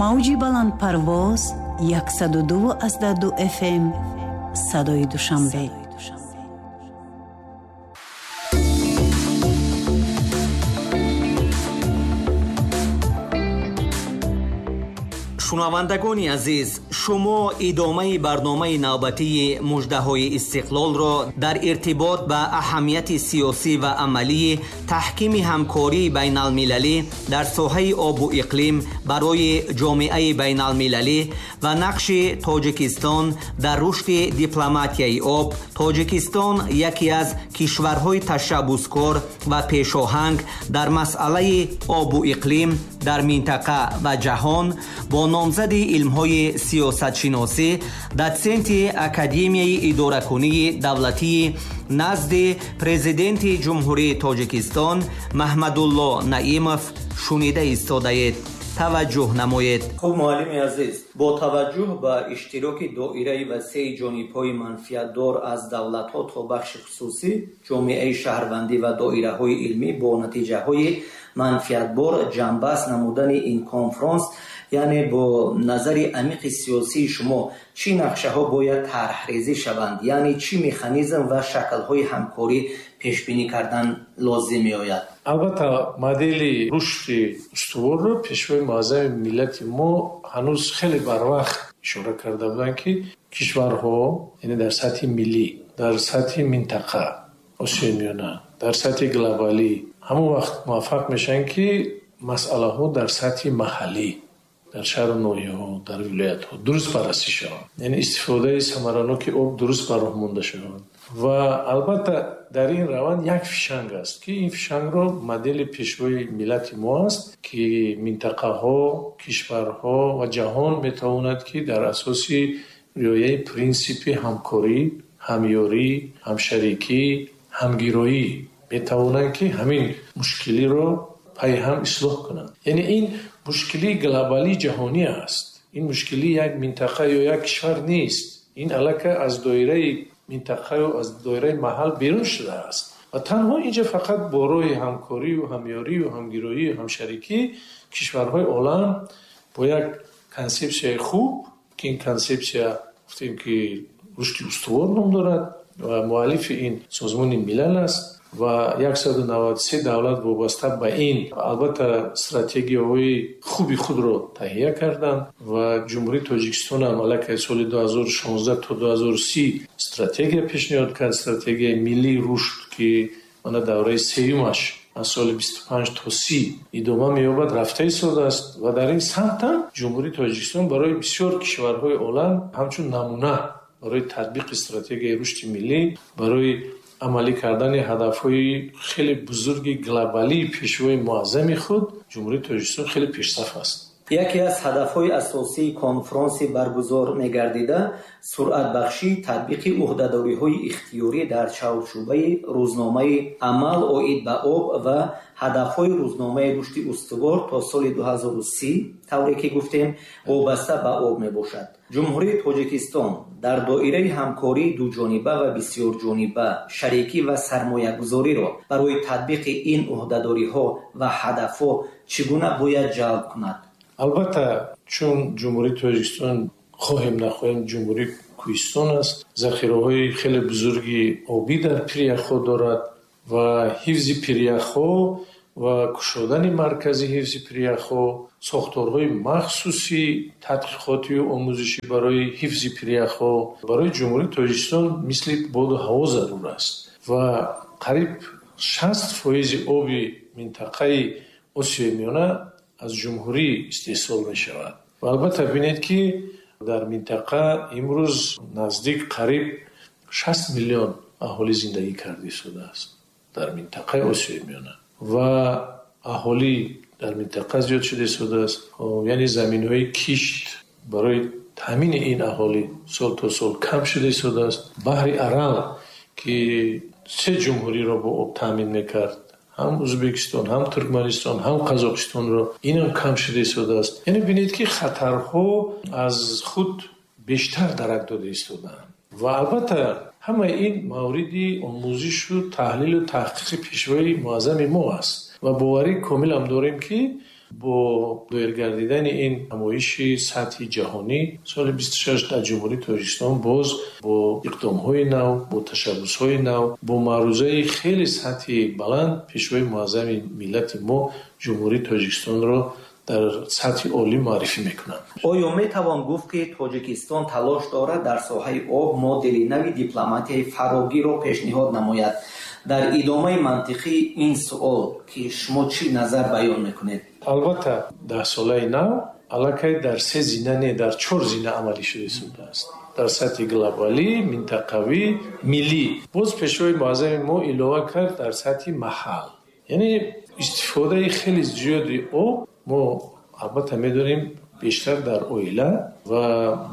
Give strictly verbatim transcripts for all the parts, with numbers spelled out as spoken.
Мавҷи баландпарвоз яксаду ду аз ду эф эм садои Душанбе. Шунавандагони азиз, шумо идомаи барномаи навбатии муждаҳои истиқлолро дар иртибот ба аҳамияти сиёсӣ ва амалии таҳкими ҳамкории байналмилалӣ дар соҳаи обу иқлим барои ҷомеаи байналмилалӣ ва нақши Тоҷикистон дар рушди дипломатияи об, Тоҷикистон яке аз кишварҳои ташаббускор ва пешоҳанг дар масъалаи обу иқлим дар минтақа ва ҷаҳон бо номзади илмҳои сиёсатшиносӣ, дотсенти Академияи идоракунии давлатии назди президенти Ҷумҳурии Тоҷикистон Маҳмадулло Наимов шунида истодаед. Таваҷҷӯҳ намоед. Хуб, муаллими азиз, бо таваҷҷӯҳ ба иштироки доираи васеи ҷонибҳои манфиатдор аз давлатҳо то бахши хусусӣ, ҷомеаи шаҳрвандӣ ва доираҳои илмӣ бо натиҷаҳои манфиатбор ҷамъбаст намудани ин конфронс, яъне бо назари амиқи сиёсии шумо чӣ нақшаҳо бояд тарҳрезӣ шаванд, яъне чӣ механизм ва шаклҳои ҳамкорӣ пешбинӣ кардан лозим меояд? Албатта, модели рушди устуворро пешвои муаззами миллати мо ҳанӯз хеле барвақт ишора карда буданд, ки кишварҳо, яъне дар сатҳи миллӣ, дар сатҳи минтақа, Осиёи Миёна, дар сатҳи глобалӣ ҳамон вақт муваффақ мешаванд, ки масъалаҳо дар сатҳи маҳаллӣ, дар шаҳру ноҳияҳо, дар вилоятҳо дуруст баррасӣ шаванд, яъне истифодаи самараноки об дуруст ба роҳ монда шаванд. Ва албатта дар ин раванд як фишанг аст, ки ин фишангро модели пешвои миллати мо аст, ки минтақаҳо, кишварҳо ва ҷаҳон метавонад, ки дар асоси риояи принсипи ҳамкорӣ, ҳамёрӣ, ҳамшарикӣ, ҳамгироӣ метавонанд, ки ҳамин мушкилиро пайҳам ислоҳ кунанд. Яъне ин мушкилии глобалии ҷаҳонӣ аст. Ин мушкилии як минтақа ё як кишвар нест. Ин аллакай аз доираи минтақаю аз доираи маҳал берун шудааст. Ва танҳо инҷа фақат бо роҳи ҳамкорию ҳамёрию ҳамгироию ҳамшарикӣ кишварҳои олам бо як консепсияи хуб, ки ин консепсия гуфтем, ки рушди устувор ном дорад ва муаллифи ин Созмони Милал аст ва яксаду наваду се давлат вобаста ба ин албатта стратегияҳои хуби худро таҳия карданд ва Ҷумҳурии Тоҷикистон ҳам аллакай соли ду ҳазору шонздаҳ то ду ҳазору си стратегия пешниҳод кард, стратегияи миллии рушд, ки мана давраи сеюмаш аз соли бисту панҷ то си идома меёбад, рафта истодааст ва дар ин самт ҳам Ҷумҳурии Тоҷикистон барои бисёр кишварҳои олам ҳамчун намуна барои татбиқи стратегияи рушди миллӣ, барои амалӣ кардани ҳадафҳои хеле бузурги глобалии пешвои муаззами худ Ҷумҳурии Тоҷикистон хеле пешсаф аст. Яке аз ҳадафҳои асосии конфронси баргузор мегардида суръатбахшии татбиқи ӯҳдадориҳои ихтиёрӣ дар чаҳорчӯбаи рӯзномаи амал оид ба об ва ҳадафҳои рӯзномаи рушди устувор то соли ду ҳазору си, тавре ки гуфтем, вобаста ба об мебошад. Ҷумҳурии Тоҷикистон дар доираи ҳамкории дуҷониба ва бисёрҷониба, шарикӣ ва сармоягузориро барои татбиқи ин ӯҳдадориҳо ва ҳадафҳо чӣ гуна бояд ҷалб кунад? Албатта, чун Ҷумҳурии Тоҷикистон хоҳем нахоҳем ҷумҳурии кӯҳистон аст, захираҳои хеле бузурги обӣ дар пиряхҳо дорад ва ҳифзи пиряхҳо ва кушодани маркази ҳифзи пиряхҳо, сохторҳои махсуси тадқиқотию омӯзишӣ барои ҳифзи пиряхҳо барои Ҷумҳурии Тоҷикистон мисли боду ҳаво зарур аст ва қариб шаст фоизи оби минтақаи Осиёи Миёна аз ҷумҳурӣ истеҳсол мешавад. Ва албатта бинед, ки дар минтақа имрӯз наздик қариб шаст миллион аҳолӣ зиндагӣ карда истодааст дар минтақаи Осиёи Миёна ва аҳолӣ дар минтақа зиёд шуда истодааст. Яъне заминҳои кишт барои таъмини ин аҳолӣ сол то сол кам шуда истодааст. Баҳри Арал, ки се ҷумҳуриро бо об таъмин мекард, ҳам Ӯзбекистон, ҳам Туркманистон, ҳам Қазоқистонро, инам кам шуда истодааст. Яъне бинед, ки хатарҳо аз худ бештар дарак дода истодаанд ва албатта ҳамаи ин мавриди омӯзишу таҳлилу таҳқиқи пешвои муаззами мо аст. Ва боварӣ комилам дорем, ки бо доир гардидани ин ҳамоиши сатҳи ҷаҳонӣ соли бисту шаш дар Ҷумҳурии Тоҷикистон боз бо иқдомҳои нав, бо ташаббусҳои нав, бо маърузаи хеле сатҳи баланд Пешвои муаззами миллати мо Ҷумҳурии Тоҷикистонро дар сатҳи олӣ муаррифӣ мекунанд. Оё метавон гуфт, ки Тоҷикистон талош дорад дар соҳаи об модели нави дипломатияи фарогирро пешниҳод намояд? Дар идомаи мантиқии ин суол, ки шумо чӣ назар баён мекунед? Албатта, даҳсолаи нав аллакай дар се зина, не, дар чор зина амалӣ шуда истодааст. Дар сатҳи глобалӣ, минтақавӣ, миллӣ. Боз Пешвои муаззами мо илова кард дар сатҳи маҳал. Яъне истифодаи хеле зиёди об мо албатта медонем бештар дар оила ва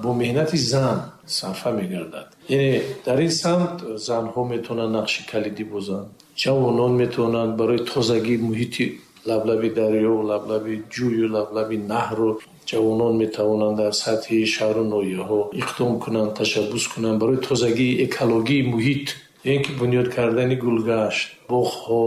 бо меҳнати зан сарфа мегардад. Яъне дар ин самт занҳо метавонанд нақши калидӣ бозанд, ҷавонон метавонанд барои тозагии муҳити лаблаби дарё, лаблаби ҷӯю лаблаби наҳру ҷавонон метавонанд дар сатҳи шаҳру ноҳияҳо иқдом кунанд, ташаббус кунанд барои тозагии экологии муҳит, ё ин ки бунёд кардани гулгашт, боғҳо,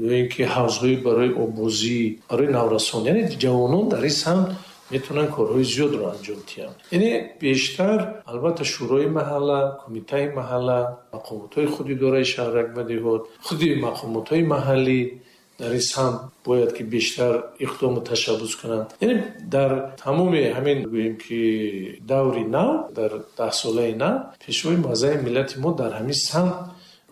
ё ин ки ҳавзҳои барои оббозӣ, барои наврасон. Яъне ҷавонон дар ин самт метавонанд корҳои зиёдро анҷом диҳанд. Яъне бештар албатта шӯрои маҳалла, кумитаи маҳалла, мақомотҳои худидораи шаҳрак ва деҳот, худи мақомотҳои маҳаллӣ дар ин самт бояд ки бештар иқдому ташаббус кунанд. Яъне дар тамоми ҳамин гӯем ки даври нав, дар даҳсолаи нав Пешвои муаззами миллати мо дар ҳамин самт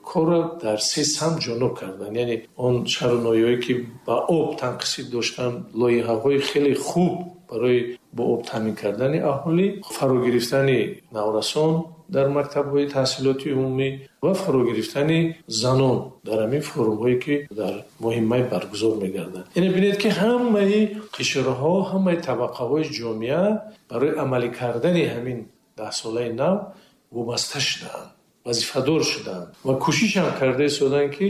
корро дар се самт ҷоноб карданд. Яъне он шаҳру ноҳияҳое ки ба об танқисӣ доштанд, лоиҳаҳои хеле хуб барои бо об таъмин кардани аҳолӣ, фарогирифтани наврасон дар мактабҳои таҳсилоти умумӣ ва фарогирифтани занон дар ҳамин форумҳое ки дар моҳи май баргузор мегарданд. Яъне бинед ки ҳамаи қишрҳо, ҳамаи табақаҳои ҷомеа барои амалӣ кардани ҳамин даҳсолаи нав вобаста шудаанд, вазифадор шудаанд ва кӯшиш ҳам карда истоданд, ки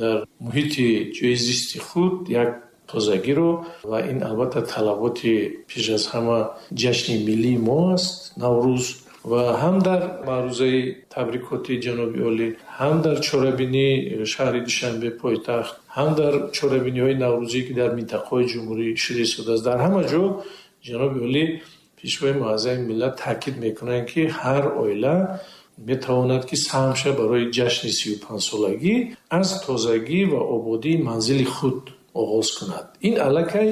дар муҳити ҷои зисти худ як тозагиро, ва ин албатта талаботи пеш аз ҳама ҷашни миллии мо аст, Наврӯз, ва ҳам дар маърузаи табрикоти ҷаноби олӣ, ҳам дар чорабинии шаҳри Душанбе пойтахт, ҳам дар чорабиниҳои наврӯзӣ ки дар минтақаҳои ҷумҳурӣ шуда истодааст, дар ҳама ҷо ҷаноби олӣ Пешвои муаззами миллат таъкид мекунанд, ки ҳар оила метавонад ки саҳм шавад барои ҷашни сию панҷсолагӣ аз тозагӣ ва ободии манзили худ оғоз кунад. Ин аллакай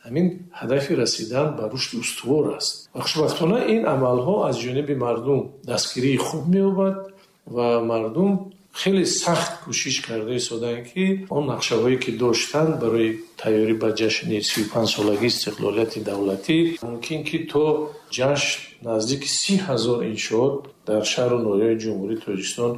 ҳамин ҳадафи расидан ба рушди устувор аст. Ва хушбахтона ин амалҳо аз ҷониби мардум дастгирии хуб меёбад ва мардум хеле сахт кӯшиш карда истоданд, ки он нақшаҳое ки доштанд барои тайёрӣ ба ҷашни сию панҷсолагии истиқлолияти давлатӣ, мумкин ки то ҷашн наздики си ҳазор иншоот дар шаҳру ноҳияҳои Ҷумҳурии Тоҷикистон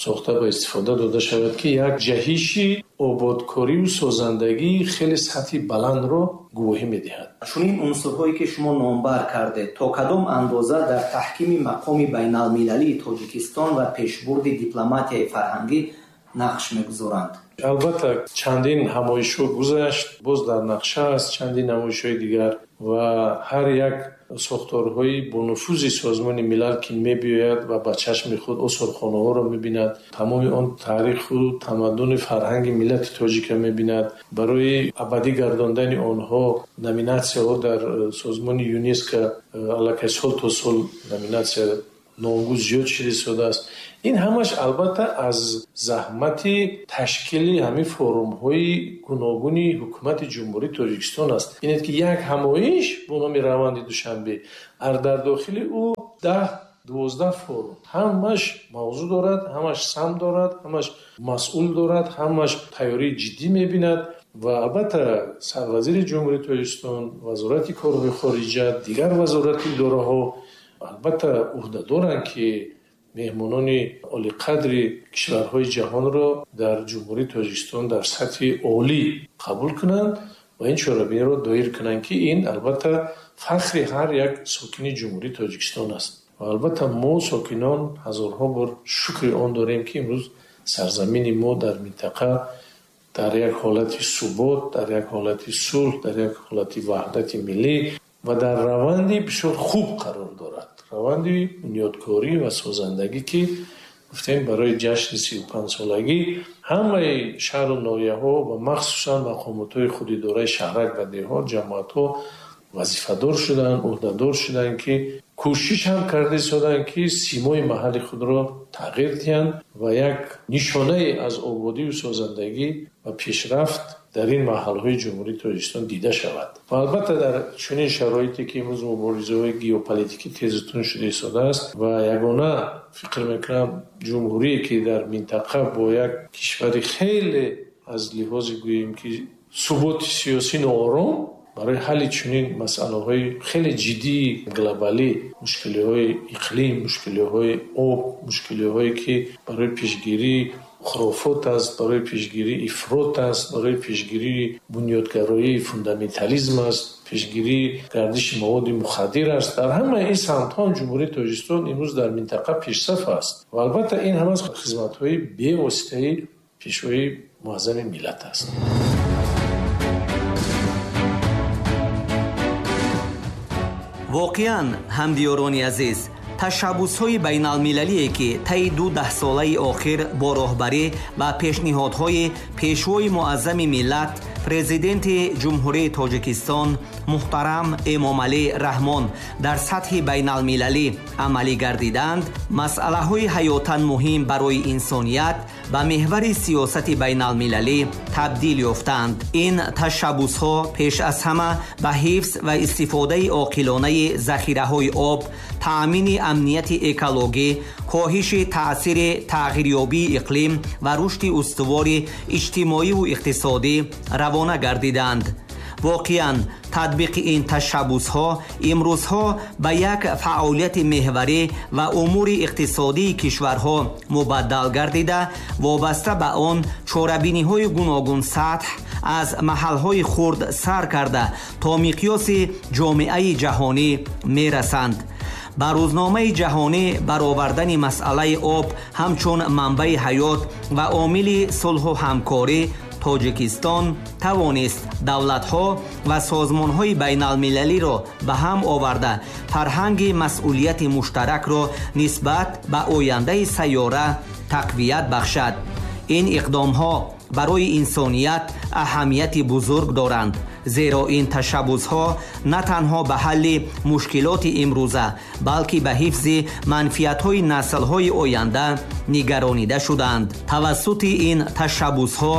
сохта ба истифода дода шавад, ки як ҷаҳиши ободкориву созандагии хеле сатҳи баландро гувоҳӣ медиҳад. Чунин унсурҳое ки шумо номбар кардед, то кадом андоза дар таҳкими мақоми байналмилалии Тоҷикистон ва пешбурди дипломатияи фарҳангӣ нақш мегузоранд? Албатта чандин ҳамоишҳо гузашт, боз дар нақша аст чандин ҳамоишҳои дигар ва ҳар як сохторҳои бонуфузи Созмони Милал ки мебиёяд ва ба чашми худ осорхонаҳоро мебинад, тамоми он таъриху тамаддуни фарҳанги миллати тоҷика мебинад, барои абадӣ гардондани онҳо номинатсияҳо дар Созмони ЮНЕСКО аллакай сол то сол номинатсия номгӯ зиёд шуда истодааст. Ин ҳамаш албатта аз заҳмати ташкили ҳамин форумҳои гуногуни ҳукумати Ҷумҳурии Тоҷикистон аст. Бинед ки як ҳамоиш бо номи раванди Душанбе, дар дохили ӯ даҳ дувоздаҳ форум, ҳамаш мавзӯъ дорад, ҳамаш сам дорад, ҳамаш масъул дорад, ҳамаш тайёрии ҷиддӣ мебинад. Ва албатта сарвазири Ҷумҳурии Тоҷикистон, Вазорати корҳои хориҷа, дигар вазорати идораҳо албатта ӯҳда доранд, ки меҳмонони олиқадри кишварҳои ҷаҳонро дар Ҷумҳурии Тоҷикистон дар сатҳи олӣ қабул кунанд ва ин чорабиниро доир кунанд, ки ин албатта фахри ҳар як сокини Ҷумҳурии Тоҷикистон аст. Ва албатта мо сокинон ҳазорҳо бор шукри он дорем, ки имрӯз сарзамини мо дар минтақа дар як ҳолати субот, дар як ҳолати сулҳ, дар як ҳолати ваҳдати миллӣ ва дар раванди бисёр хуб қарор дорад. Раванди бунёдкорӣ ва созандагӣ, ки Гуфтем, барои ҷашни сию панҷсолагӣ ҳамаи шаҳру ноҳияҳо ва махсусан мақомотҳои худидораи шаҳрак ва деҳот, ҷамоатҳо вазифадор шуданд, ӯҳдадор шуданд, ки кӯшиш ҳам карда истоданд, ки симои маҳалли худро тағйир диҳанд ва як нишонае аз ободию созандагӣ ва пешрафт дар ин маҳалҳои Ҷумҳурии Тоҷикистон дида шавад. Ва албатта дар чунин шароите, ки имрӯз муборизаҳои геополитикӣ тезу тунд шуда истодааст ва ягона фикр мекунам ҷумҳурие, ки дар минтақа бо як кишвари хеле аз лиҳози гӯем ки суботи сиёсӣ ноором, барои ҳалли чунин масъалаҳои хеле ҷиддии глобалӣ, мушкилиҳои иқлим, мушкилиҳои об, мушкилиҳое ки барои пешгирии хурофот аст, барои пешгирии ифрот аст, барои пешгирии бунёдгароии фундаментализм аст, пешгирии гардиши маводи мухаддир аст. Дар ҳамаи ин самтҳо Ҷумҳурии Тоҷикистон имрӯз дар минтақа пешсаф аст ва албатта ин ҳама хизматҳои бевоситаи Пешвои муаззами миллат аст. Воқеан, ҳамдиёрони азиз, ташаббусҳои байналмилалие, ки таи ду даҳсолаи охир бо роҳбарӣ ва пешниҳодҳои Пешвои муаззами миллат, Президенти Ҷумҳурии Тоҷикистон муҳтарам Эмомалӣ Раҳмон дар сатҳи байналмилалӣ амалӣ гардиданд, масъалаҳои ҳаётан муҳим барои инсоният ба меҳвари сиёсати байналмилалӣ табдил ёфтанд. Ин ташаббусҳо пеш аз ҳама ба ҳифз ва истифодаи оқилонаи захираҳои об, таъмини амнияти экологӣ, коҳиши таъсири тағйирёбии иқлим ва рушди устувори иҷтимоиву иқтисодӣ равона гардиданд. Воқеан, татбиқи ин ташаббусҳо имрӯзҳо ба як фаъолияти меҳварӣ ва умури иқтисодии кишварҳо мубаддал гардида, вобаста ба он чорабиниҳои гуногунсатҳ аз маҳалҳои хурд сар карда то миқёси ҷомеаи ҷаҳонӣ мерасанд. Ба рӯзномаи ҷаҳонӣ баровардани масъалаи об ҳамчун манбаи ҳаёт ва омили сулҳу ҳамкорӣ, Тоҷикистон тавонист давлатҳо ва созмонҳои байналмилалиро ба ҳам оварда, фарҳанги масъулияти муштаракро нисбат ба ояндаи сайёра тақвият бахшад. Ин иқдомҳо барои инсоният аҳамияти бузург доранд, зеро ин ташаббусҳо на танҳо ба ҳалли мушкилоти имрӯза, балки ба ҳифзи манфиатҳои наслҳои оянда нигаронида шуданд. Тавассути ин ташаббусҳо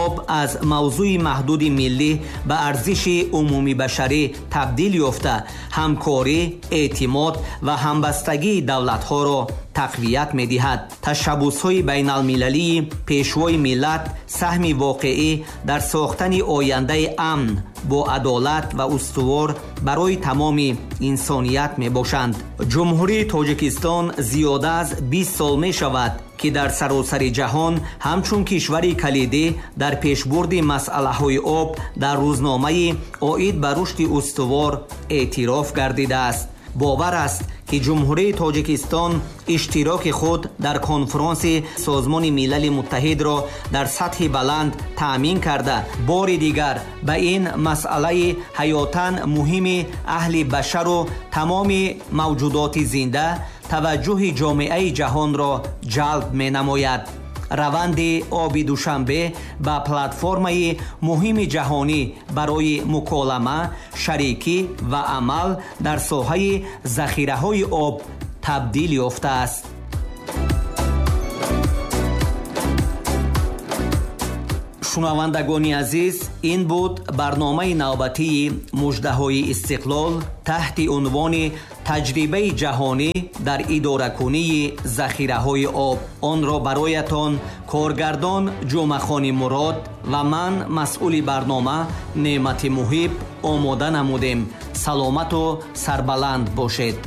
об аз мавзӯи маҳдуди миллӣ ба арзиши умумибашарӣ табдил ёфта, ҳамкорӣ, эътимод ва ҳамбастагии давлатҳоро тақвият медиҳад. Ташаббусҳои байналмилалии Пешвои миллат саҳми воқеӣ дар сохтани ояндаи амн бо адолат ва устувор барои тамоми инсоният мебошанд. Ҷумҳурии Тоҷикистон зиёда аз бист сол мешавад, ки дар саросари ҷаҳон ҳамчун кишвари калидӣ дар пешбурди масъалаҳои об дар рӯзномаи оид ба рушди устувор эътироф гардидааст. Бовар аст, ки Ҷумҳурии Тоҷикистон иштироки худ дар конфронси Созмони Милали Муттаҳидро дар сатҳи баланд таъмин карда, бори дигар ба ин масъалаи ҳаётан муҳими аҳли башару тамоми мавҷудоти зинда таваҷҷӯҳи ҷомеаи ҷаҳонро ҷалб менамояд. Раванди оби Душанбе ба платформаи муҳими ҷаҳонӣ барои муколама, шарикӣ ва амал дар соҳаи захираҳои об табдил ёфтааст. Шунавандагони азиз, ин буд барномаи навбатии муждаҳои истиқлол таҳти унвони таҷрибаи ҷаҳонӣ дар идоракунии захираҳои об. Онро бароятон коргардон Ҷумъахони Мурод ва ман, масъули барнома Неъмати Муҳиб, омода намудем. Саломату сарбаланд бошед.